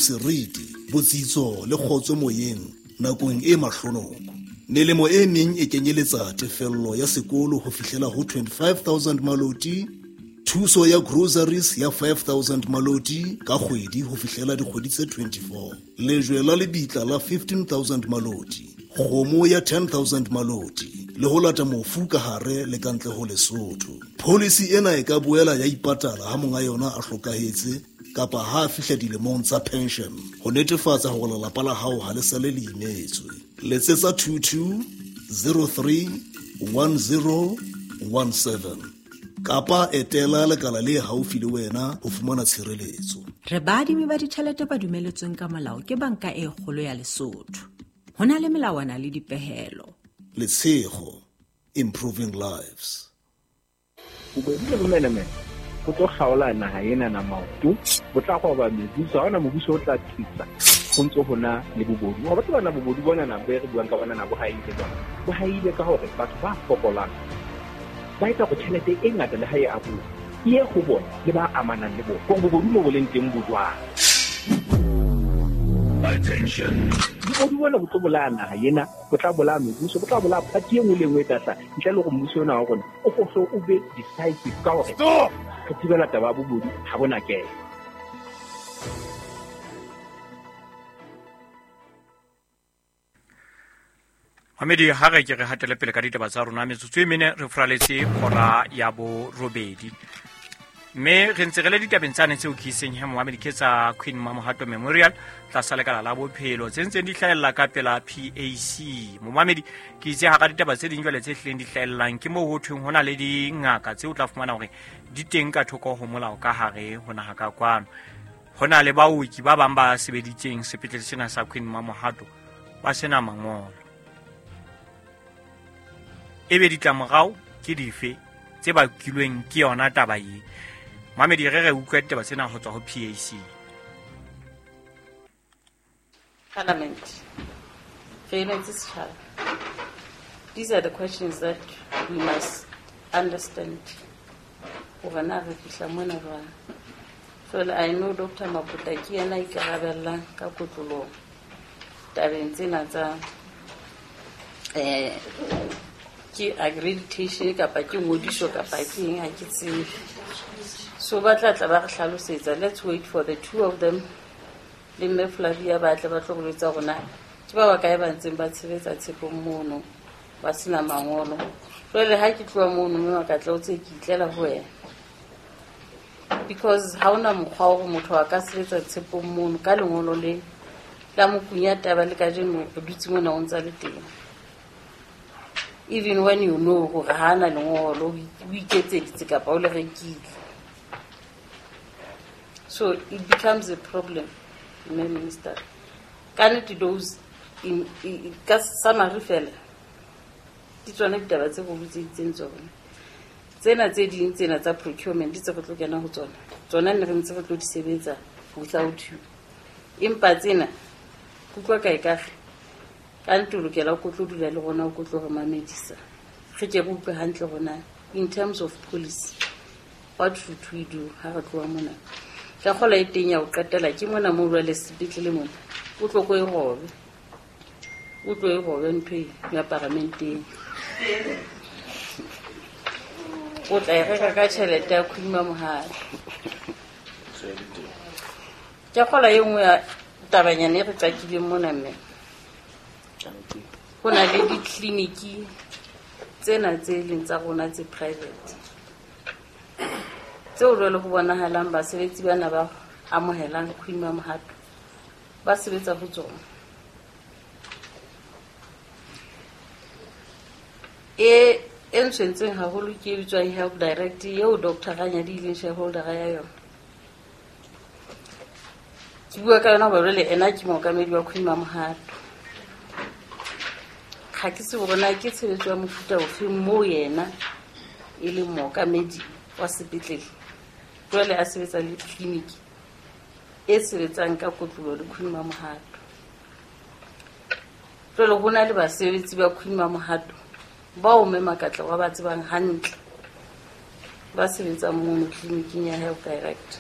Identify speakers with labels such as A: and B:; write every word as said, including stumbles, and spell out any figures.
A: seriti, botsitso le kgotso moyeng nakong e mahlonoko. Melemo e meng e kenyeletsa tefello ya sekolo ho fihlela ho twenty-five thousand maloti, thuso ya groceries ya five thousand maloti ka kgwedi ho fihlela dikgwedi tse twenty-four, lejwe la lebitla la fifteen thousand maloti, kgomo ya ten thousand maloti le ho lata mofu ka hare le ka ntle ho Lesotho. Policy ena e ka boela ya ipatala ha monga yona a hlokahetse kapa ha a fihla dilemong tsa pension ho netefatsa hore lelapa la hao ha le sale le imetswe. Letsetsa two two zero three one zero one seven kapa etela lekala le haufi le wena ho fumana tshireletso.
B: Re baadimi ba ditjhelete ba dumeletsweng ka molao ke Banka e Kgolo ya Lesotho. Ho na le melawana le dipehelo.
A: Letshego, improving lives.
C: Bobodu le bomenemene bo tlo kgaola naha ena na maoto, bo tla roba mebuso, ha hona mobuso o tla tsitsa ho ntso ho na le bobodu. Wa batho bana bobodu bona na bo re buang ka bona na bo haile jwang? Bo haile ka hore batho ba fokolang ba etsa hore tjhelete e ngata le ha e abuwa e ye ho bona le ba amanang le bona. Hore bobodu mo bo leng teng bo jwang?
D: Attention.
C: Bobodu bona bo tlo bolaya naha ena, bo tla bolaya mebuso, bo tla bolaya party e nngwe le e nngwe e tla hlaha. Ntle le hore mmuso ona wa rona o hlo o be decisive ka hore
D: Stop!
C: re thibela taba ya bobodu ha bona kena.
E: Mamedi, ha re ke re hatele pele ka ditaba tsa rona, metsotso e mene re furaletse hora ya borobedi. Mme re ntse re le ditabeng tsane tseo ke iseng he Mohamedi ke tsa Queen Mamohato Memorial tlasa lekala la bophelo tse ntseng di hlahella ka pela P A C. Mohamedi, ke itse hara ditaba tse ding jwale tse hlileng di hlahellang ke moo ho thweng ho na le dingaka tseo o tla fumana hore di teng ka thoko ho molao ka hare ho naha ka kwano. Ho na le baoki ba bang ba sebeditseng sepetlele sena sa Queen Mamohato ba sena mangolo. Ebe ditlamorao ke dife tse bakilweng ke yona taba e? Mamedi, re re utlwe ditaba tsena ho tswa ho P A C.
F: Parliament. Re emetse setjhaba. These are the questions that we must understand. Hore na re fihla mona jwang. Jwale I know Doctor Maputa ke yena a ikarabellang ka kotloloho tabeng tsena tsa, eh, ke accreditation kapa ke ngodiso kapa ke eng, ha ke tsebe. So ba tla tla ba re hlalosetsa. Let's wait for the two of them le mme Flavia ba tle ba tlo go jwetsa rona ke ba bakae ba ntseng ba tshebetsa tshepong mono ba sena mangolo. Jwale ha ke tloha mono mme ka tla o tse ke itlela ho wena, because ha ona mokgwa wa hore motho a ka sebetsa tshepong mono ka lengolo le la mokunya taba le kajeno o dutse mona o ntsa le teng. Even when you know hore ha ana lengolo o iketseditse kapa o le rekile. So it becomes a problem, Mme Minister. Ka nnete those in, in, ka summary fela di tsona ditaba tse go botseditseng tsona. Tsena tse ding tsena tsa procurement di tse re tlo kena ho tsona. Tsona ne re ntse re tlo di sebetsa without you. Empa tsena kutlwa kae ka re ka nnete o lokela o tlo dula le rona o tlo re mamedisa. Re ke re utlwe hantle rona in terms of policy what should we do ha re tloha mona. Ka kgola e teng ya ho qetela ke mona moo jwale sepetlele mona o tlo ko e robe. O tlo e robe ntho e ya paramenteng. O tla e reka ka tjhelete ya Queen Mamohato. Ke kgola e nngwe ya tabanyana e re qakileng mona mme. Ho na le ditleliniki tsena tse leng tsa rona tse private tseo jwale ho bonahalang basebetsi bana ba amohelang Queen Mamohato ba sebetsa ho tsona. E e ntshwentseng haholo ke e bitswang Health Direct eo Doctor Ranyadi e leng shareholder ya yona. Ke bua ka yona hoba jwale ena ke mookamedi wa Queen Mamohato. Ha ke tsebe hore na ke tshebetso ya mofuta ofe moo yena e leng mookamedi wa sepetlele jwale a sebetsa le tleliniki e sebetsang ka kotloloho le Queen Mamohato. Jwale ho na le basebetsi ba Queen Mamohato bao mme Makatla wa ba tsebang hantle ba sebetsang mono tleliniking ya Health Direct.